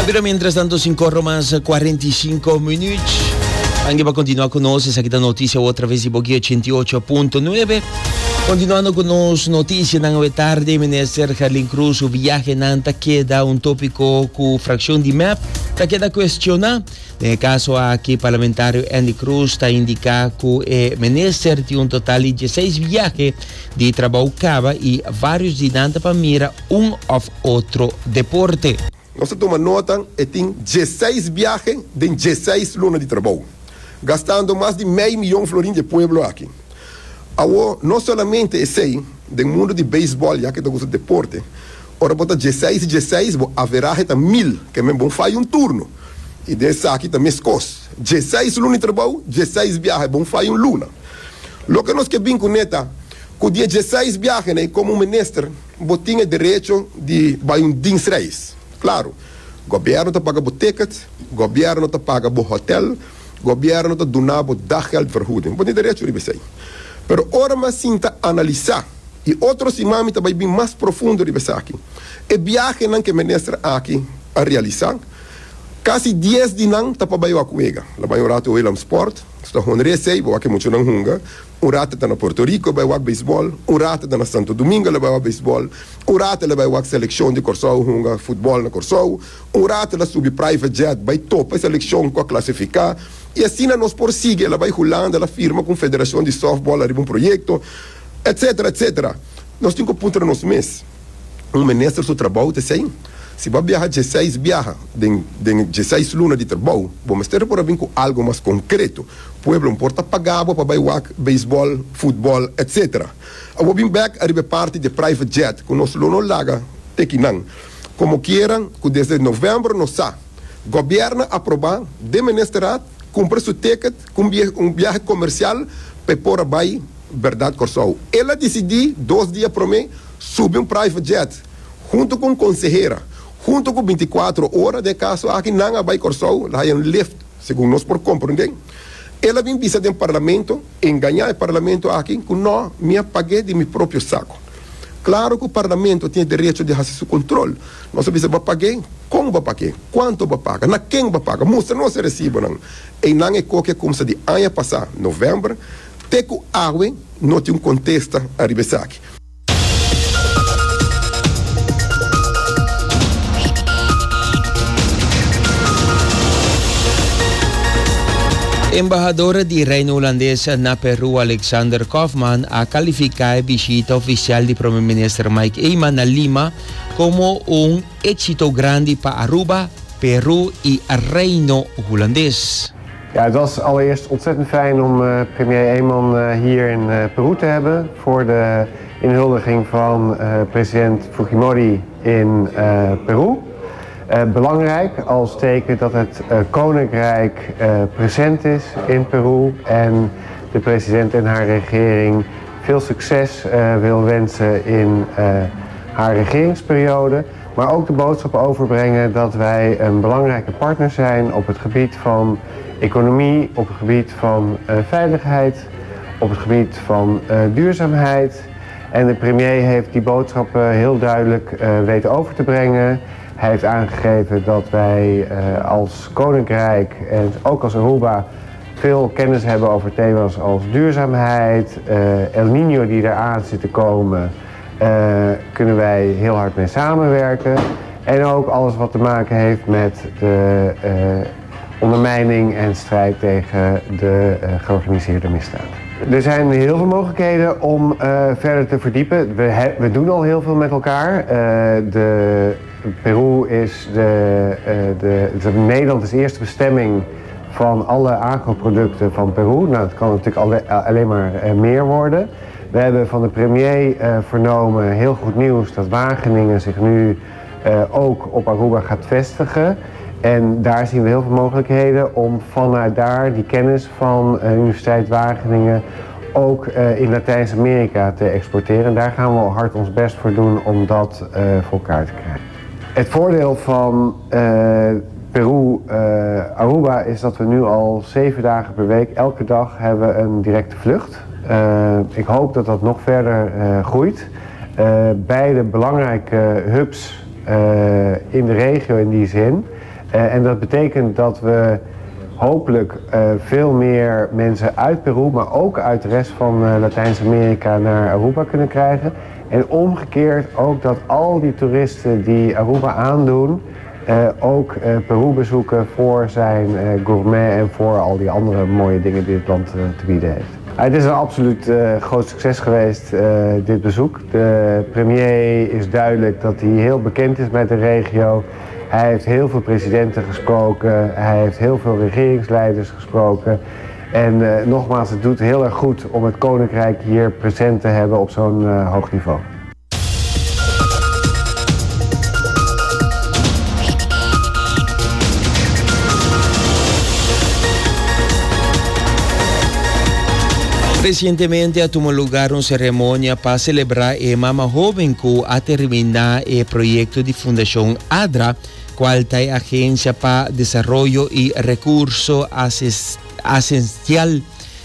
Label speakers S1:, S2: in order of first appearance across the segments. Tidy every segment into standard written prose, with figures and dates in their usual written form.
S1: Pero mientras tanto, 5 mas 45 minuut. Ange pa continua cu nos, esaki ta noticia otra vez di Boki 88.9. Continuando cu nos noticianan awe tarde, Minister Gerlin Cruz su viahenan ta keda un topico cu fraccion di mep ta keda cuestiona. Den e caso aki, parlamentario Andy Cruz ta indica cu e minister tin un total di 16 viahe di trabou caba y varios di nan ta pa mira un of otro deporte.
S2: Nos a tuma nota e tin diesseis biahe den diesseis luna di trabou, gastando mas di mei miyon florin di e pueblo aki. Awo, no solamente esei, den mundo di beisbòl, ya ke ta gusta deporte, ora bo ta diesseis i diesseis, bo averahe ta mil, ke men bon faya un turno. I den esaki ta meskos, diesseis luna di trabou, diesseis biahe, bon faya un luna. Loke nos ke bin kuné ta ku di e diesseis biahenan komo un minister, Bo tin e derecho di bai un dienstreis. Claro, gobierno ta paga bo ticket, gobierno ta paga bo hotel, gobierno ta duna bo daggeldvergoeding. Bo tin derecho riba esei. Pero ora mi a sinta analisa, y otro siman mi ta bai bin mas profundo riba esaki, e biahenan cu e minister aki a realisa, casi dies di nan ta pa bai wak wega. La bai un rato Willemsport, su ta honra esei, bo wak e muchanan hunga. Un rato e ta na Puerto Rico e bai wak beisbòl, un rato e ta na Santo Domingo el a bai wak beisbòl, un rato el a bai wak selekshon di Kòrsou hunga futbòl na Kòrsou, un rato el a subi private jet bai topa e selekshon ku a klasifiká i asina nos por sigui. El a bai Hulanda, el a firma ku un federashon di sòftbòl ariba un proyekto, etsetera, etsetera. Nos tin ku puntra nos mes. Un minister su trabou ta esei. Si bo a biaha dieseis biaha den den dieseis luna di trabou, bo mester por a bin ku algu mas konkreto. Pueblo no por ta paga bo pa bai wak beisbòl, futbòl, etc. Awor bin bèk ariba e parti di e private jet ku nos lo no laga te kinan. Komo kiera ku desde novèmber nos sa, gobièrnu a aprobá den ministerat kumpra su ticket ku un biahe komersial pa e por a bai bèrdat Kòrsou. El a disidí dos dia promé subi un private jet huntu ku un konsehera, huntu ku bintikuatro ora den e kaso aki nan a bai Kòrsou, la haña un lift segun nos por komprondé. El a bin bisa den parlamento, engañá e parlamento aki ku nò, mi a pag'é di mi propio sako. Klaro ku parlamento tin e derecho di hasi su kontrol. Nos a bisa bo a pag'é, kon bo a pag'é, kuantu bo a paga, na ken bo a paga, mustra nos e resibonan. Einan e koki a kumsa di aña pasá, novèmber, te ku awe no tin un kontesta ariba esaki.
S1: Embahador di Reino Hulandes na Peru Alexander Kaufman a kalifiká e bishita ofisial di Prome Minister Mike Eman na Lima komo un éksito grandi pa Aruba, Peru i Reino Hulandes.
S3: Ja, het was allereerst ontzettend fijn om eh, premier Eman eh, hier in eh, Peru te hebben voor de inhuldiging van president Fujimori in Peru. Belangrijk als teken dat het koninkrijk present is in Peru en de president en haar regering veel succes wil wensen in haar regeringsperiode. Maar ook de boodschap overbrengen dat wij een belangrijke partner zijn op het gebied van economie, op het gebied van eh, veiligheid, op het gebied van eh, duurzaamheid. En de premier heeft die boodschap heel duidelijk eh, weten over te brengen. Hij heeft aangegeven dat wij als Koninkrijk en ook als Aruba veel kennis hebben over thema's als duurzaamheid, El Niño die eraan zit te komen. Eh, kunnen wij heel hard mee samenwerken. En ook alles wat te maken heeft met de eh, ondermijning en strijd tegen de eh, georganiseerde misdaad. Er zijn heel veel mogelijkheden om verder te verdiepen. We, we doen al heel veel met elkaar. de, Peru is de, de, de, Nederland is de eerste bestemming van alle agroproducten van Peru. Nou, dat kan natuurlijk alle, alleen maar meer worden. We hebben van de premier eh, vernomen heel goed nieuws dat Wageningen zich nu eh, ook op Aruba gaat vestigen. En daar zien we heel veel mogelijkheden om vanuit daar die kennis van eh, Universiteit Wageningen ook in Latijns-Amerika te exporteren. En daar gaan we hard ons best voor doen om dat voor elkaar te krijgen. Het voordeel van Peru, Aruba is dat we nu al zeven dagen per week, elke dag hebben we een directe vlucht. Eh, ik hoop dat dat nog verder eh, groeit. Eh, beide belangrijke hubs in de regio in die zin. En dat betekent dat we hopelijk veel meer mensen uit Peru, maar ook uit de rest van Latijns-Amerika naar Aruba kunnen krijgen. En omgekeerd ook dat al die toeristen die Aruba aandoen, ook Peru bezoeken voor zijn gourmet en voor al die andere mooie dingen die het land te bieden heeft. Het is een absoluut groot succes geweest, dit bezoek. De premier is duidelijk dat hij heel bekend is met de regio. Hij heeft heel veel presidenten gesproken, hij heeft heel veel regeringsleiders gesproken. En nogmaals, het doet heel erg goed om het Koninkrijk hier present te hebben op zo'n hoog niveau.
S1: Recientemente a tuma lugar un ceremonia pa celebra e mama hoben cu a termina e proyecto di Fundacion ADRA, cual ta e Agencia pa Desaroyo y Recurso Asistencial.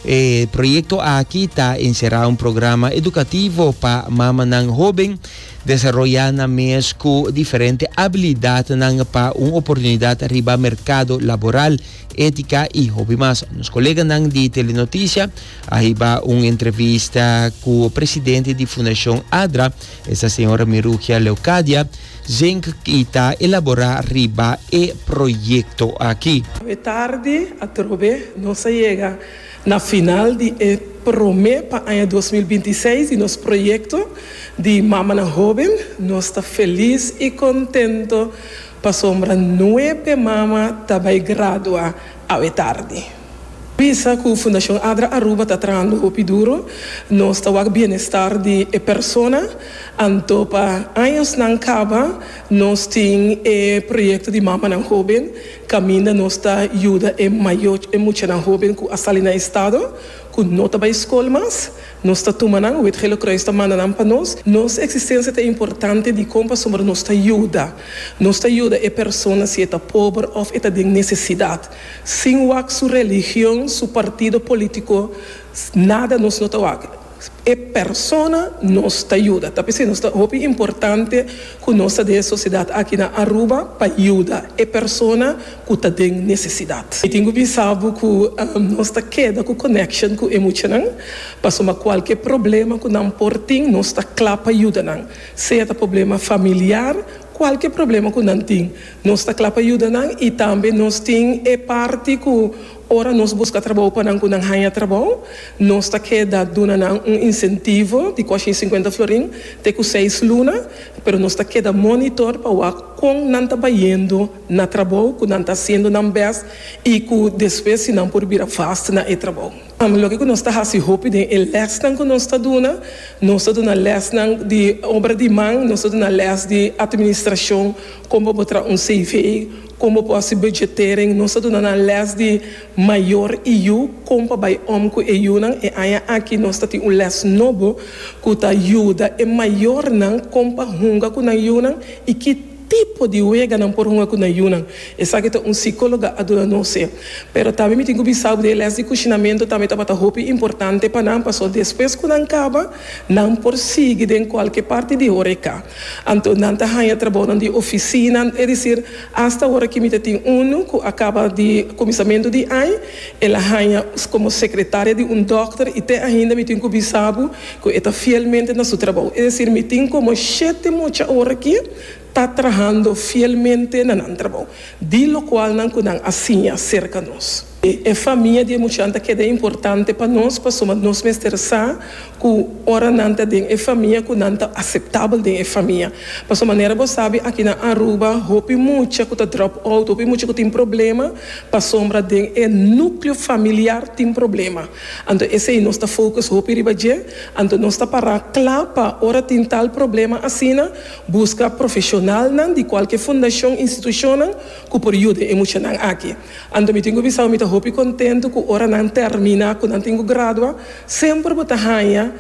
S1: E proyecto aki ta encera un programa educativo pa mamanan hoben desaroya nan mes cu diferente habilidadnan pa un oportunidad riba mercado laboral, etica y hopi mas. Nos coleganan di Telenoticia a hiba un entrevista cu presidente di Fundacion ADRA, esta señora Mirugia Leocadia Zink y ta elabora riba e proyecto aki.
S4: Awe tardi atrobe nos a yega na final di e prome pa aña 2026 di nos proyecto di Mamanan Hoben. Nos ta feliz y contento pasobra nuebe mama ta bay gradua awe tardi. Bisa ku Fundashon Adra Aruba ta trahando hopi duro, nos ta wak bienestar di e persona, anto pa añosnan kaba nos tin e proyekto di Mamanan Hoben kaminda nos ta yuda e mayo e muchanan hoben ku a sali na estado ku no ta bai skol mas, nos ta tuma nan, Wit Gele Kruis ta manda nan pa nos. Nos eksistensia ta importante dikon pasobra nos ta yuda, nos ta yuda e persona si e ta pober òf e ta den nesesidat. Sin wak su religion, su partido politico, nada nos no ta wak. E persona nos ta yuda. Ta p'esei nos ta hopi importante cu nos ta den e sociedad aki na Aruba pa yuda e persona cu ta den necesidad. Mi tin cu bisa bo cu nos ta keda cu connection cu e muchanan, pasobra cualke problema cu nan por tin nos ta cla pa yuda nan. Sea ta problema familiar, cualke problema cu nan tin. Nos ta kla pa yuda nan i tambe nos tin e parti ku ora nos buska trabou pa nan ku nan haña trabou, nos ta keda duna nan un insentivo di kuashin sinkuenta florin te ku seis luna, pero nos ta keda monitor pa wak kon nan ta bayendo na trabou, ku nan ta hasiendo nan bèst i ku despues si nan por bira vast na e trabou. Loke ku nos ta hasi hopi den e lèsnan ku nos ta duna, nos ta duna lèsnan di obra di man, nos ta duna lès di atministrashon, kon bo por traha un CV, kon bo por hasi budgetering, nos ta duna nan lès di mayor i yu, kon pa bai om ku e yunan. E aña aki nos ta tin un lès nobo ku ta yuda e mayornan kon pa hunga ku nan yunan i ki Tipo di wega nan por hunga ku nan yunan? Esaki ta un sikóloga a duna nos e. Pero tambe mi tin ku bisa bo di e lès di kushinamentu tambe tabata hopi importante pa nan pasobra despues ku nan kaba nan por sigui den kualke parti di horeka. Anto nan ta haña trabounan di ofisina, es desir, asta ora ki mi ta tin unu ku a kaba di kuminsamentu di aña el a haña komo sekretaria di un dòkter i te ainda mi tin ku bisa bo ku e ta fielmente na su trabou. Es desir, mi tin komo shete mucha ora ki ta trahando fielmente na nan trabou, di lokualnan ku nan a siña serka nos. E famia di e muchanan ta keda importante pa nos pasobra nos mester sa ku ora nan ta den e famia ku nan ta aseptabel den e famia. Pasobra manera bo sabi aki na Aruba hopi mucha ku ta drop out, hopi mucha ku tin problema pasobra den e nukleo familiar tin problema. Anto esei nos ta focus hopi riba dje, anto nos ta para kla pa ora tin tal problema asina, buska profesionalnan di kualke fundashon, institushonnan ku por yuda e muchanan aki. Anto mi tin ku bisa mi ta hopi kontentu ku ora nan termina, ku nan tin ku gradua, semper bo ta haña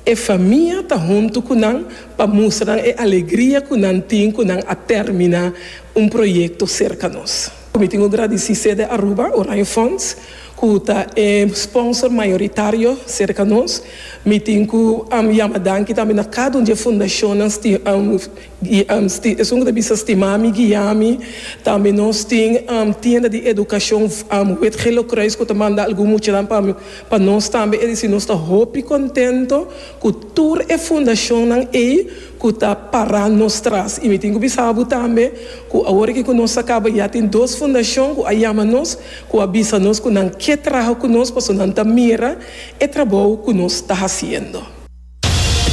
S4: e famia ta huntu ku nan pa mustra nan e alegria ku nan tin ku nan a termina un proyekto serka nos. Mi tin ku gradisí Sede Aruba, Oranje Fonds. Ku ta e sponsor mayoritario serka nos. Mi tin ku yama danki tambe na kada un di e fundashonnan esun ku ta bisa stima mi, guia mi. Tambe nos tin tienda di edukashon Wit Gele Kruis ku ta manda algun muchanan pa pa nos tambe. E disi nos ta hopi kontento ku tur e fundashonnan ei ku ta pará nos tras. I mi tin ku bisa bo tambe ku awor aki ku nos a kaba ya tin dos fundashon ku a yama nos ku a bisa nos ku nan ke traha ku nos pasobra nan ta mira e trabou ku nos ta hasiendo.